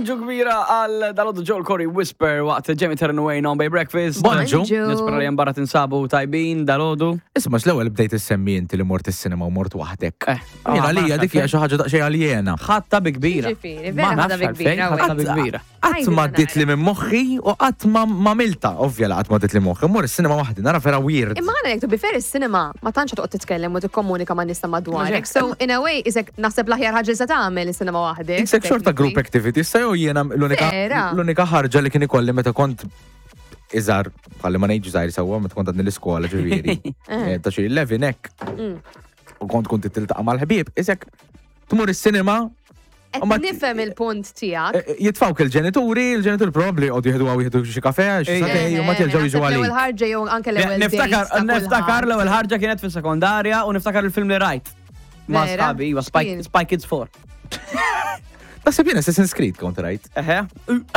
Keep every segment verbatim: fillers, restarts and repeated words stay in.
Bonġu kbira għal dalgħodu, Joel Corry, Whisper, waqt Jamie Turn Wayne on Bay Breakfast. Bonġu. Nispera li barra tinsabu tajbin dalgħodu. Isma', l-ewwel bdejt issemmi inti li mort is-cinema u mort waħdek. Eh, Jiena ah, lija ma dik hija xi ħaġa daqsxejn aljena. Ħatta bi kbira. Ġifieri, Ma vera ħadda nafx bi għalfejn, kbira, ħatta bi kbira. Qatt ma għaddiet li minn moħħi u qatt ma ma milta, ovvja la qatt ma għaddiet li moħħi. Mur is-cinema waħdi, nara vera weird. Imma għana jek to be fair, is-cinema ma tantx toqgħod titkellem u tikkomunika ma' nies ta' madwarek. So in a way, isek naħseb l-aħjar ħaġa li se tagħmel is-cinema waħdek. Isek xorta group activity, issa jew jiena l-unika Vera. l-unika ħarġa li kien ikolli meta kont iżgħar, bħalli ma ngħidx żgħir sewwa, meta kont għadni l-iskola ġifieri. Eh, Ta' xi eleven hekk. Mm. U kont kont tiltaqa' mal-ħbieb, isek tmur is-cinema. Qed U ma- nifhem il-punt tiegħek. eh, Jitfawk il-ġenituri, il-ġenituri probabli għodu jieħdu għaw jieħdu xi kafe, xi Ej, sagħtejn, u ma jerġgħu jiġu L-ewwel għalik. ħarġa jew anke l-ewwel Niftakar, dates ta' niftakar kulħadd. l-ewwel ħarġa kienet fis-sekondarja u niftakar il-film li rajt. Ma' Vera? sħabi, iva, Spy, X'kien? Spy Kids four. Naħseb jien Assassin's Creed kont rajt. Eħe,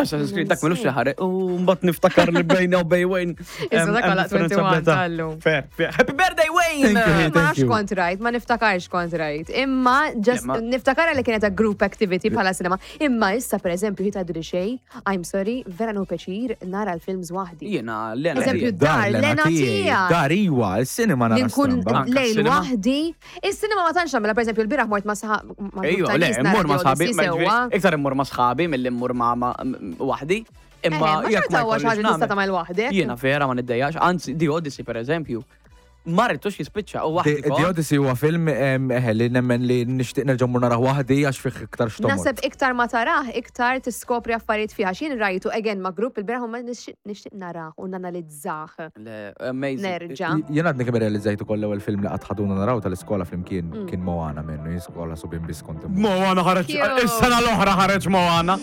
Assassin's Creed dak milux li ħareġ. U mbagħad niftakar li bejna u bej Wayne. Issa dak għalaq wieħed u għoxrin tal-lum. Fair, fair. Happy birthday, Wayne! Thank you. Ma Thank nafx you. kont rajt, ma niftakarx kont rajt. Imma just Ma- niftakar li kienet a group activity bħala cinema. Imma issa, per eżempju, ħita li xej, I'm sorry, vera nieħu pjaċir nara l-films waħdi. Jiena, l-ena. Eżempju, dar, l-ena tiegħek. Dar iwa, il-cinema Li nara nkun stramba. Anka lejl s-cinema. waħdi. Is-cinema ma tantx nagħmilha, per eżempju, l-bieraħ mort ma' sħab ma' Ejju, grupp ta' le, nies nara immur ma' The sħabi, Odyssey ma sewwa. ġifieri, iktar immur ma' sħabi mill-li immur ma' ma' waħdi. Imma Eh, ma jekk xorta huwa xi jkollix ħaġa tista' nagħmel. tagħmel waħdek. Jiena vera ma niddejjax, anzi, The Odyssey, per eżempju, ma ridtux jispiċċa u waħdi. The The Odyssey huwa film em, eħe, li nemmen li nixtieq nerġa' mmur narah waħdi għax fih iktar xtomor. Naħseb iktar ma tarah, iktar tiskopri affarijiet fiha. X'jien rajtu again ma' grupp il-bieraħ u ma nixtieq nixtieq narah u nanalizzah. Le, amazing. Nerġa'. Jien għadni kemm realizzajt ukoll l-ewwel film li qatt ħaduna naraw tal-iskola flimkien Mm. kien Moana minnu, jien skola subien biss kont immur. Moana ħareġ, Cute. is-sena l-oħra ħareġ Moana.